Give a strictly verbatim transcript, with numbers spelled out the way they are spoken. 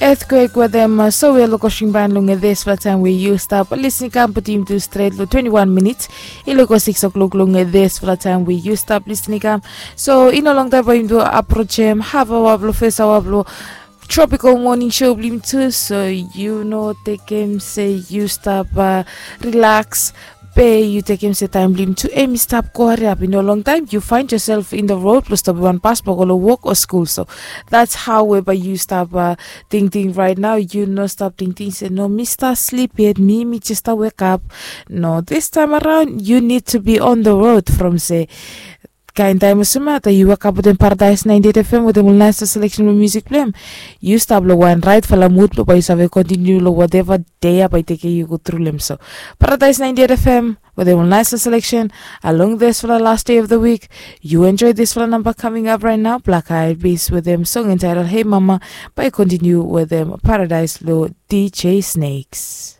Earthquake wetem sowe long kosing ban long dispela taim we yu stap lisning kam putim tu stret long twenty-one minits. I loko six o'clock long dispela taim we yu stap lisning kam. So i no long taim bai yumi tu aprochem haf awa bilong fes awa bilong tropical morning show bilong yumi tu, so yu no tekem se yu stap relax. Be yu tekem se taim bilong yumi tu em i stap go hariap i no long taim yu find yourself in the road bilong stop wan pas bilong go long wok o skul. So that's how we bai yu stap tingting right now. Yu no stap tingting se no mi stap slip yet, mi mi just stap wake up. No, this time around you need to be on the road from se kain taim olsem ya ta yu wake up wetem Paradise ninety-eight F M wetem ol nice selection bilong music bilong em. Yu stap long wan rightfala mood bilong bai yu save continue long whatever day ya bai tekem yu go through long em. So Paradise ninety-eight F M wetem ol nice selection along dispela last day of the week. You enjoy dispela number coming up right now, Black Eyed Peas wetem song entitled Hey Mama, bai continue wetem Paradise lo D J Snakes.